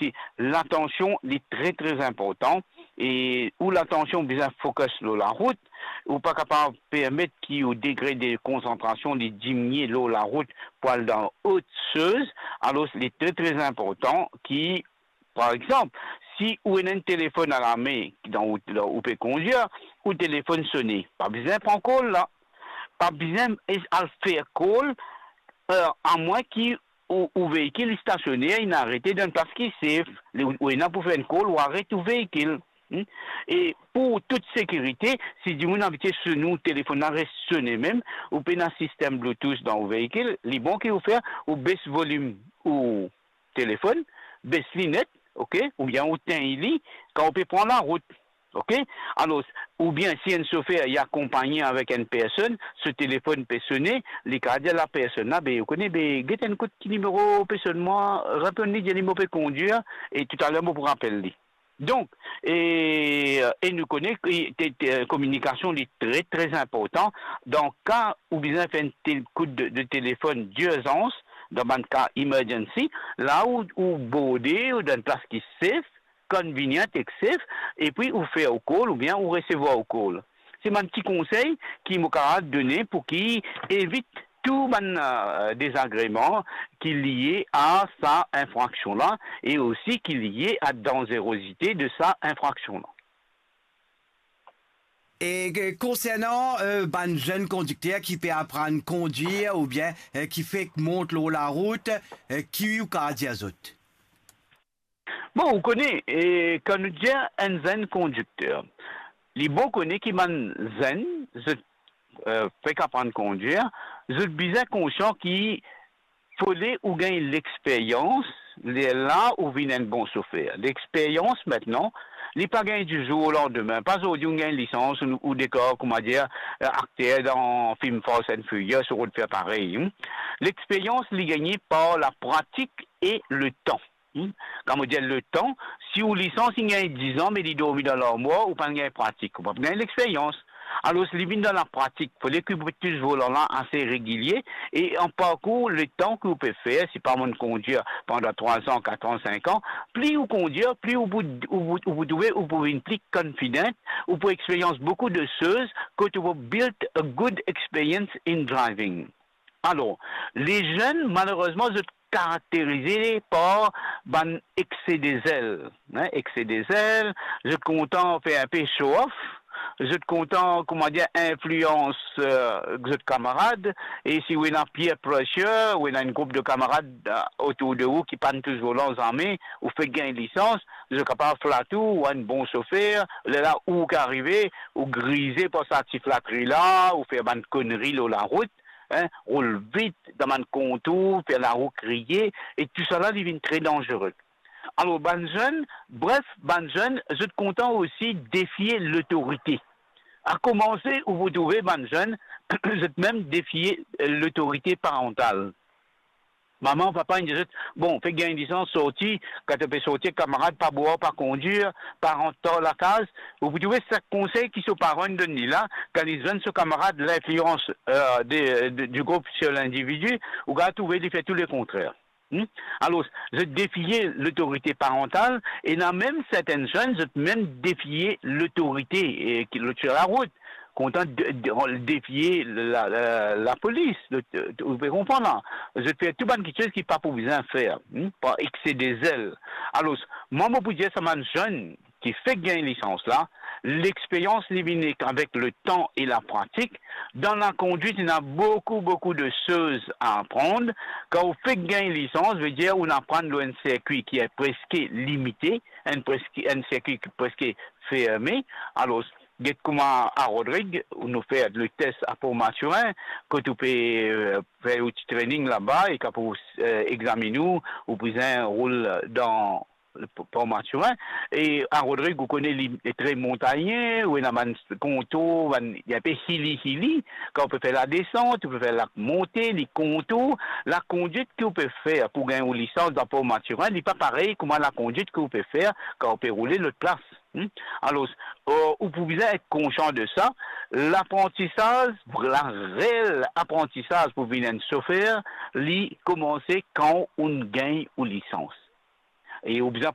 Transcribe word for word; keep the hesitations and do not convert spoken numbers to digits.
ti, latansion li tre, tre inportan, e ou latansion bizin focus lor larout, ou pa kapav permet ki ou degre de konsantrasion li diminie lor larout pou al dan ot soz. Alor, li tre, tre inportan ki, par exanp, si ou ena enn telefonn alame dan ou, dan ou pe kondir, ou telefonn sone, pa bizin pran call la, pa bizin es-, al fer call, eh, amwin ki ou, ou veikil li stasione, li inn arete dan enn plas ki safe, li, ou, ou ena pou fer enn call, ou aret ou veikil. Hmm? E pou tout sekirite, si dimoun abitie sone ou telefonn la res sone mem, ou pena sistem Bluetooth dan ou veikil, li bon ki ou fer, ou bes volim ou telefonn, bes li net, ok, oubien ou tegn li, kan ou pe pran larout, ok? Alor, oubien si enn sofer li akonpagne avek enn personn, so telefonn pe sone, li kapav dir lapersonn la, be, ou kone, be, get enn kout ki nimero pe sonn mwa, reponn li, dir li mo pe kondir, e toutaler mo pou rapel li. Donk, e, e nou kone ki te, te, kominikasion li tre, tre inportan. Dan ka ou bizin fer enn tel kout de, de telefonn dirzans, dan bann ka emergency, la ou, ou borde, ou dan enn plas ki safe, convenient ek safe, epi ou fer ou call oubien ou resevwar ou call. Se bann ti konsey ki mo kapav done pou ki evit tou bann, eh, dezagreman ki lie a sa infraksion la e osi ki lie a danzerozite de sa infraksion la. E ke, konsernan, eh, bann zenn kondikter ki pe aprann kondir oubien, eh, ki fek mont lor larout, eh, ki ou kapav dir zot? Bon, ou kone, e, kan nou dir enn zenn kondikter, li bon kone ki bann zenn, zot, eh, fek aprann kondir, zot bizin konsian ki fode ou gagn lexperyans, lerla ou vinn enn bon sofer. Lexperyans, mintnan, li pa gagn dizour o landime. Pa zordi ou gagn lisans, ou, ou dekor, koumadir, eh, akter dan fim Fast and Furious, ou rod fer parey, hmm. Lexperyans, li gagne par lapratik e letan. Hmm? Kan mo dir letan, si ou lisans inn gagn diz an, me li dormi dan larmwar, ou pa'nn gagn pratik, ou pa gagn lexperyans. Alor, si li vinn dan lapratik, fode ki ou pe tous volan la ase regilie, e an parkour letan ki ou pe fer, si pa mo'nn kondir pandan trwa an, kat an, sink an, pli ou kondir, pli ou pou, ou, ou, ou pou trouve, ou pou vinn pli confident, ou pou experyans boukou de soz, kot ou pou build a good experience in driving. Alor, lezenn, malerezman, zot karakterize par bann ekse de zel, hein, ekse de zel, zot kontan fer inpe show off, zot kontan, koumadir, inflians, eh, zot kamarad, e si ou ena peer pressure, ou ena enn group de kamarad, eh, otour de ou ki pa'nn tous volan zame, ou fek gagn lisans, zot kapav flat ou, ou enn bon sofer, lerla ou ki arive, ou grize par sa ti flatri la, ou fer bann konri lor larout, hein, roul vit dan bann kontour, fer larou kriye, e tousala li vinn tre danzere. Alor, bann zenn, bref, bann zenn, zot kontan osi defie lotorite. A koumanse, ou pou trouve bann zenn, zot mem defie, eh, lotorite parantal. Mama, papa, inn dir zot, bon, fek gagn lisans, sorti, kan to pe sorti ek kamarad, pa bwar, pa kondir, pa rant tar lakaz. Ou pou trouve sa konsey ki so paran inn donn li la, kan li zwenn so kamarad, linflians, eh, de, de, du group sur l'individu, ou kapav trouve li fer tou lekontrer. Hmm? Alor, zot defie lotorite parantal, ena mem sertenn zenn, zot mem defie lotorite, eh, ki, lot sir larout, kontan de, de, defie la, la, lapolis, lot, ou pe konpran la. Zot fer tou bann kiksoz ki pa pou bizin fer, hmm, par ekse de zel. Alor, mwa, mo pou dir sa bann zenn ki fek gagn lisans la, lexperyans li vini avek letan e lapratik. Dan lakondwit, ena boukou, boukou de soz a aprann. Kan ou fek gagn lisans, vedir ou aprann lor enn sirkwi ki preske limite, enn preske, enn sirkwi ki preske ferme. Alor, get kouma a Rodrig, nou fer le tes a Port Mathurin, kot ou pe, eh, fer ou ti training laba, e kan pou, eh, examine ou, ou bizin roul dan P-, Port Mathurin. E a Rodrig, ou kone li tre montagne, ou ena bann kontour, bann, li inpe hilly, hilly. Kan ou pe fer ladesant, ou pe fer lamonte, li kontour, lakondwit ki ou pe fer pou gagn ou lisans dan Port Mathurin, li pa parey kouma lakondwit ki ou pe fer kan ou pe roule lot plas. Hmm? Alor, eh, ou pou bizin et konsian de sa. Laprantisaz, lareel aprantisaz pou vinn enn sofer, li koumanse kan ou gagn ou lisans. E ou bizin